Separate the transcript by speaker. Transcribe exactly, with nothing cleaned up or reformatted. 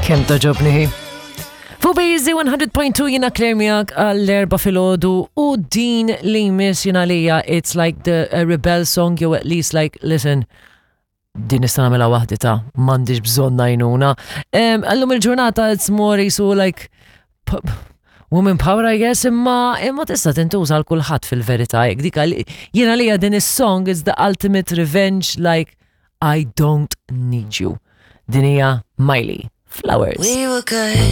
Speaker 1: Kemm togħġobni hi. Fuq B Z one hundred point two, jiena Claire miegħek għall-erbgħa filgħodu u din li jmiss jiena lija it's like the a rebel song, jew at least like, listen, din nista' nagħmilha waħdi ta', m'għandix bżonn għajnuna. Illum il-ġurnata it's more so like woman power, I guess, imma imma tista' tintuża għal kulħadd fil-verità. Jekk dik jiena lija din is-song is the ultimate revenge, like, I don't need you. Din hija Miley, Flowers.
Speaker 2: We were good.